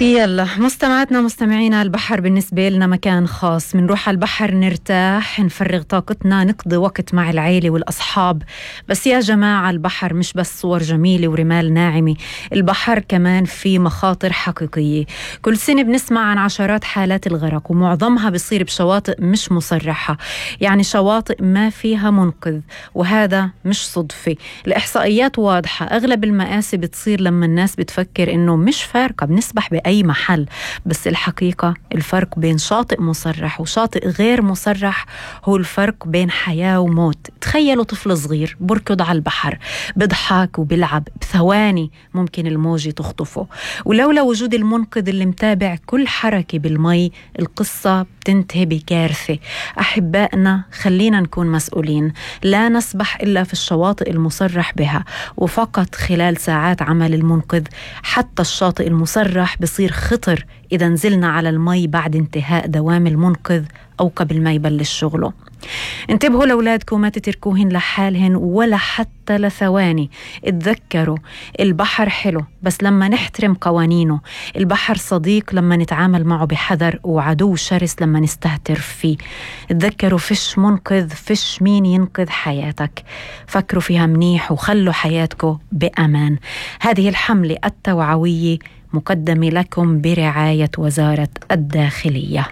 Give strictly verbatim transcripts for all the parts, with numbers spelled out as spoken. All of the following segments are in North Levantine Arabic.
يلا مستمعاتنا مستمعينا، البحر بالنسبة لنا مكان خاص. منروح على البحر نرتاح، نفرغ طاقتنا، نقضي وقت مع العيلة والأصحاب. بس يا جماعة، البحر مش بس صور جميلة ورمال ناعمة، البحر كمان في مخاطر حقيقية. كل سنة بنسمع عن عشرات حالات الغرق، ومعظمها بيصير بشواطئ مش مصرحة، يعني شواطئ ما فيها منقذ. وهذا مش صدفة، الإحصائيات واضحة. أغلب المآسي بتصير لما الناس بتفكر إنه مش فارقة، بنسبح بأي أي محل. بس الحقيقة الفرق بين شاطئ مصرح وشاطئ غير مصرح هو الفرق بين حياة وموت. تخيلوا طفل صغير بركض على البحر، بضحك وبلعب، بثواني ممكن الموجة تخطفه. ولولا وجود المنقذ اللي متابع كل حركة بالمي، القصة بتنتهي بكارثة. أحبائنا، خلينا نكون مسؤولين، لا نسبح إلا في الشواطئ المصرح بها، وفقط خلال ساعات عمل المنقذ. حتى الشاطئ المصرح بصير خطر إذا نزلنا على المي بعد انتهاء دوام المنقذ أو قبل ما يبلش شغله. انتبهوا لأولادكم، ما تتركوهن لحالهن ولا حتى لثواني. اتذكروا البحر حلو بس لما نحترم قوانينه، البحر صديق لما نتعامل معه بحذر، وعدو شرس لما نستهتر فيه. اتذكروا فيش منقذ، فيش مين ينقذ حياتك. فكروا فيها منيح وخلوا حياتكم بأمان. هذه الحملة التوعوية مقدمة لكم برعاية وزارة الداخلية.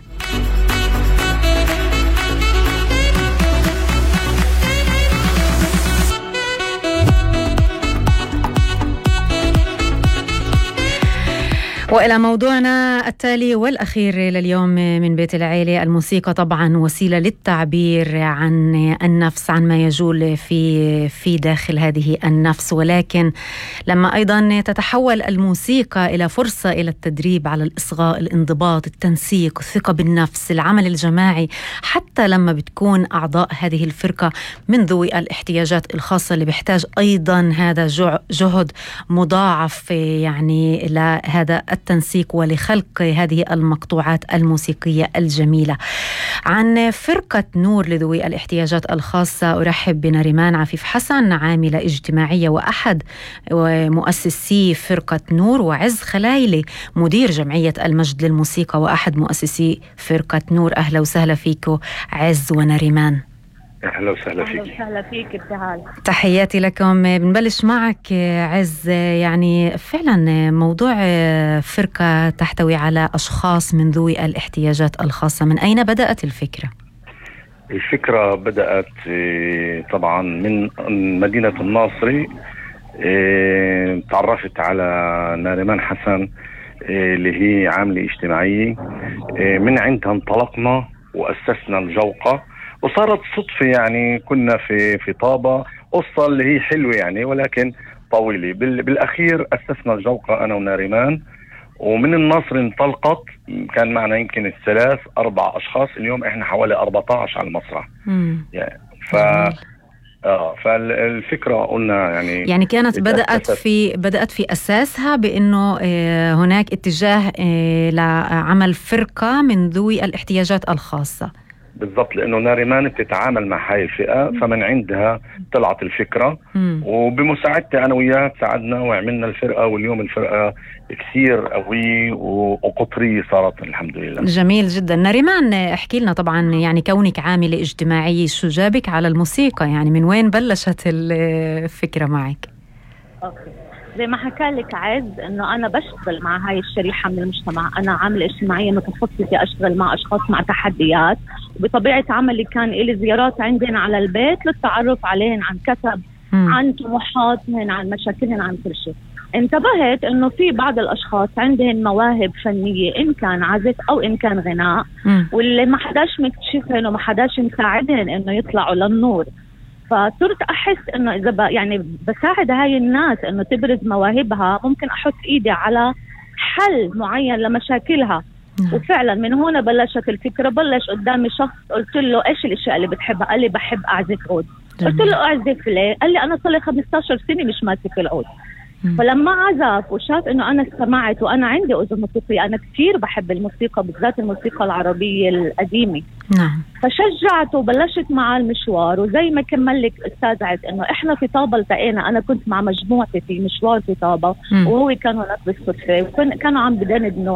وإلى موضوعنا التالي والأخير لليوم من بيت العيلة. الموسيقى طبعا وسيلة للتعبير عن النفس، عن ما يجول في في داخل هذه النفس، ولكن لما أيضا تتحول الموسيقى إلى فرصة إلى التدريب على الإصغاء، الانضباط، التنسيق، الثقة بالنفس، العمل الجماعي، حتى لما بتكون أعضاء هذه الفرقة من ذوي الاحتياجات الخاصة اللي بيحتاج أيضا هذا جهد مضاعف يعني لهذا التنسيق ولخلق هذه المقطوعات الموسيقية الجميلة. عن فرقة نور لذوي الاحتياجات الخاصة أرحب بنريمان عفيف حسن، عاملة اجتماعية وأحد مؤسسي فرقة نور، وعز خلايلي مدير جمعية المجد للموسيقى وأحد مؤسسي فرقة نور. أهلا وسهلا فيكم عز ونريمان. أهلا وسهلا فيك. أهلا وسهلا فيك ابتهال. تحياتي لكم. بنبلش معك عز. يعني فعلا موضوع فرقة تحتوي على أشخاص من ذوي الاحتياجات الخاصة، من أين بدأت الفكرة؟ الفكرة بدأت طبعا من مدينة الناصري. تعرفت على نارمان حسن اللي هي عاملة اجتماعية، من عندها انطلقنا وأسسنا الجوقة، وصارت صدفة يعني كنا في في طابة، قصة اللي هي حلوة يعني ولكن طويلة. بالأخير أسسنا الجوقة أنا ونارمان، ومن النصر انطلقت. كان معنا يمكن الثلاث أربع أشخاص، اليوم إحنا حوالي أربعة عشر على المسرح يعني. ف آه فالفكرة قلنا يعني يعني كانت بدأت في بدأت في أساسها بأنه آه هناك اتجاه آه لعمل فرقة من ذوي الاحتياجات الخاصة. بالضبط، لأنه نارمان بتتعامل مع هاي الفئة، فمن عندها طلعت الفكرة. مم. وبمساعدتي أنا وياها ساعدنا وعملنا الفرقة، واليوم الفرقة كثير قوية وقطرية صارت الحمد لله. جميل جدا. نارمان، احكي لنا طبعا، يعني كونك عاملة اجتماعية، شو جابك على الموسيقى؟ يعني من وين بلشت الفكرة معك؟ أوكي. زي ما حكى لك عز انه انا بشتغل مع هاي الشريحه من المجتمع. انا عامله اجتماعيه متخصصه اشتغل مع اشخاص مع تحديات، وبطبيعه عملي كان لي زيارات عندنا على البيت للتعرف عليهن عن كسب، م. عن طموحاتهن، عن مشاكلهن، عن كل شيء. انتبهت انه في بعض الاشخاص عندهن مواهب فنيه، ان كان عزف او ان كان غناء، م. واللي ما حداش مكتشفهن وما حداش مساعدهن انه يطلعوا للنور. فصرت أحس إنه إذا يعني بساعد هاي الناس إنه تبرز مواهبها، ممكن أحط إيدي على حل معين لمشاكلها. نعم. وفعلا من هنا بلشت الفكرة. بلش قدامي شخص قلت له إيش الأشياء اللي بتحبها؟ قال لي بحب أعزف عود. قلت له أعزف ليه؟ قال لي أنا صار لي خمسة عشر سنة مش ماسك العود. فلما عزف وشاف انه انا استمعت وانا عندي اذن موسيقيه، انا كثير بحب الموسيقى بالذات الموسيقى العربيه القديمه. نعم. فشجعته وبلشت معه المشوار، وزي ما كمل لك استاذ عز انه احنا في طابه التقينا، انا كنت مع مجموعتي في مشوار في طابه وهو كان هناك بالصدفه، وكانوا عم بدندنوا